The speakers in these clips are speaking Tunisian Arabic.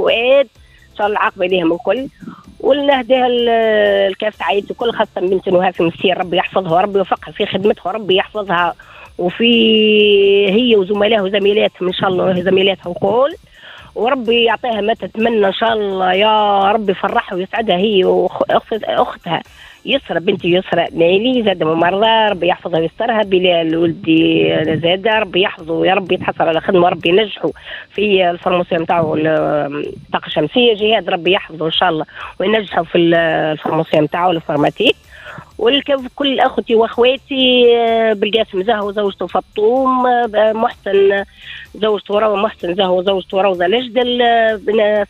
وفؤاد، ان شاء الله العاقبة ليهم الكل. ونهديها الكافة عائلتي الكل، خاصة بنت نهى في مسير، ربي يحفظها وربي يوفقها في خدمتها وربي يحفظها وفي هي وزملائها وزميلاتهم ان شاء الله، زميلاتها وكل، وربي يعطيها ما تتمنى ان شاء الله يا ربي، يفرحها ويسعدها هي واختها يسرى، بنتي يسرى نايلي زاد ممرضة، ربي يحفظها ويسترها. بلال ولدي زاد ربي يحفظه يا ربي، يتحصل على خدمة وربي ينجحه في ال formation نتاعو الطاقة الشمسية. جهاد ربي يحفظه ان شاء الله وينجحه في ال formation نتاعو l'informatique. وكل اخوتي واخواتي، بالقاسم زهو زوجته فطوم، محسن زوجته روضة، محسن زهو زوجته روضة لجدل،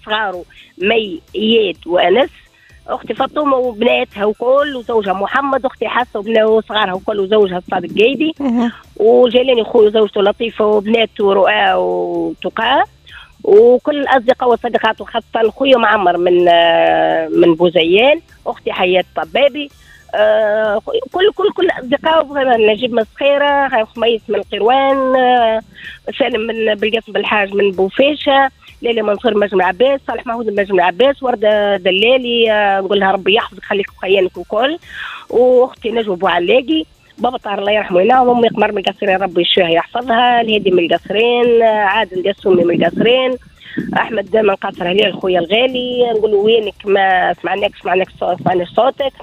صغاره مي اياد وانس، اختي فاطمة وبناتها وكل وزوجها محمد، اختي حاسه وصغارها وكل وزوجها الصادق قايدي، وجيلاني خويا وزوجته لطيفة وبناته رؤى وتقى، وكل الاصدقاء والصديقات، وخاصة خويا معمر من بوزيان، اختي حياة طبابي، كل كل كل الاصدقاء، نجيب من الصخيره، خميس من القيروان، سالم من بالقاسم بالحاج من بوفيشه، ليلى منصور مجمع عباس، صالح محمود مجمع عباس، ورده دلالي، نقول لها ربي يحفظك خليك وخيانك وكل، واختي نجوى بوعلاقي، بابا طاهر الله يرحمه هنا، وامي قمر من القصرين ربي يشفيها يحفظها، الهادي من القصرين، عادل القسومي من القصرين، احمد من قصر هلال خويا الغالي، نقول وينك ما سمعناكش سمعناش صوتك.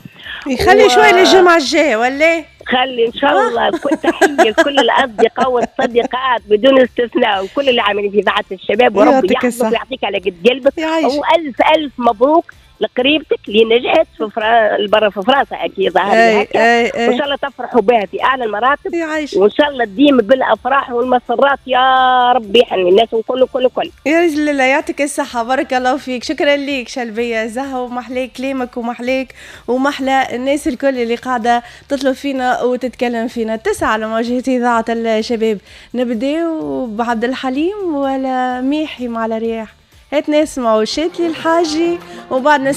يخلي شوية للجمعة الجاية ولا خلي ان شاء الله. تحية لكل الاصدقاء والصديقات بدون استثناء، وكل اللي عاملين في اذاعة الشباب، وربي يحفظك ويعطيك على قد قلبك، والف الف مبروك لقريبتك اللي نجحت في برا في فرنسا اكيد ظهر هكا، وان شاء الله تفرحوا بها في اعلى المراتب، وان شاء الله تديم بالافراح والمسرات يا ربي، يحني الناس وكل كل كل. يا رجل الله يعطيك الصحة، بارك الله فيك، شكرا ليك شلبيه زهو، ومحلاك كلامك ومحلاك ومحلى الناس الكل اللي قاعدة تطلب فينا وتتكلم فينا. 9 على مواجهة اذاعة الشباب. نبداو بعبد الحليم ولا ميحي مع الرياح؟ هات نسمعوا شاتلي الحاجي وبعد نسمع